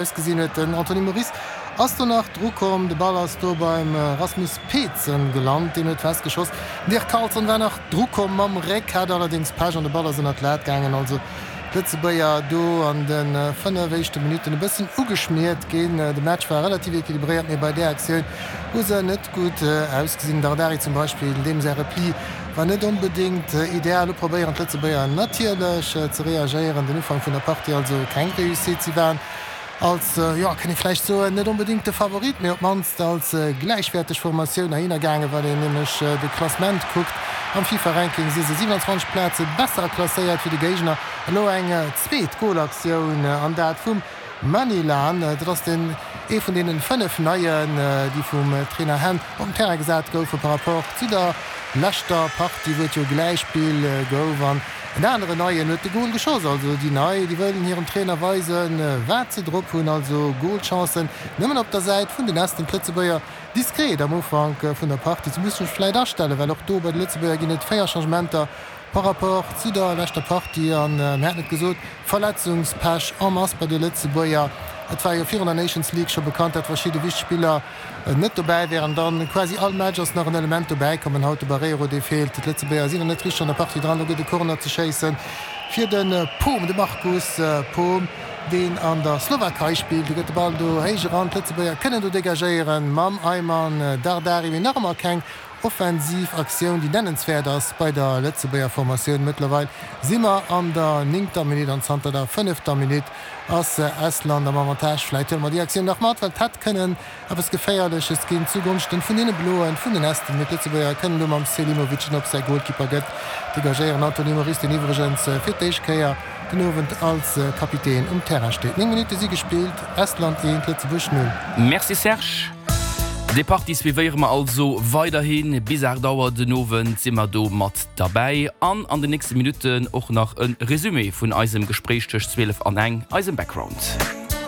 Ausgesinn huet. Den Anthony Moris ass do nach dru komm, de Ball ass do beim Rasmus Peetsen gelant, deen huet fest geschoss. Den Dirk Carlson war nach dru komm mam Réck, hat allerdéngs Pech an de Ball ass ënnert d'Lat gaangen. Also d'Lëtzebuerger do an de 5 éischte Minutten e bëssen ugeschmiert ginn. De Match war relativ equilibréiert, mee bei där Aktioun hu se net gutt ausgesinn. Dardari zum Beispill, deem säi Repli war net onbedéngt ideal. Elo probéieren d'Lëtzebuerger natierlech ze reagéieren. Den Ufank vun der Partie also keng Réussite. Si waren als, jo, kann ee vläicht soen, net onbedéngt de Favorit, mee op d'mannst als gläichwäerteg Formatioun heihinner gaangen. Wann een nämlech de Klassement kuckt am FIFA-Ranking, si se 27 Plaze besser klasséiert wéi de Géigner. Elo eng zweet Golaktioun an dat vum Manilan, dat ass den ee vun deenen 5 Neien, déi vum Trainer Henn op den Terrain gesat goufe par rapport zu der leschter Partie, wou et jo Gläichspill gouf. An en aneren Neien huet de Gol geschoss. Also déi Nei, déi wëllen hirem Trainer weisen, wat se drop hunn. Also Golchancen nëmmen op der Säit vun den Esten. D'Lëtzebuerger diskret am Ufank vun der Partie. Se musse sech vläit astellen, well och do bei de Lëtzebuerger ginn et 4 Changementer Par rapport zu der leschter Partie, an mir haten et gesot, Verletzungspech en masse bei de Lëtzebuerger. Et war jo virun der Nations League scho bekannt, dat verschidde wichteg Spiller net dobäi wären. Dann quasi all Match ass nach en Element dobäi komm. An haut de Barreiro, dee feelt. D'Lëtzebuerger sinn nach net richteg an der Partie dran. Lo gëtt e Corner ze schéissen fir de Poom, de Marcus Poom, deen an der Slowakei spillt. Do gëtt de Ball do héich eran. D'Lëtzebuerger kënnen do degagéieren mam Ayman Dardari, mee nach ëmmer keng Offensiv Aktioun, déi nennenswäert ass bei der Lëtzebuerger Formatioun. Mëttlerweil si mer an der néngter Minutt an zanter der fënnefter Minutt ass Estland am Avantage. Vläit huele mer déi Aktioun nach mat, well et hätt kënnen eppes Geféierleches ginn zugonschten vun deene Bloen, vun den Esten. Mee d'Lëtzebuerger kënnen do mam Selimovic, deen op säi Golkipper gëtt, degagéieren. Anthony Moris, deen iwwregens fir d'éischt Kéier den Owend als Kapitän um Terrain steet. 9 Minutte si gespillt, Estland 1, Lëtzebuerg 0. Merci Serge. Déi Partie suivéiere mer also weiderhin. Bis 8 Auer den Owend si mer do mat derbäi an an den nächste Minutten och nach e Resumé vun eisem Gespréich tëscht 12 an eng, eisem Background.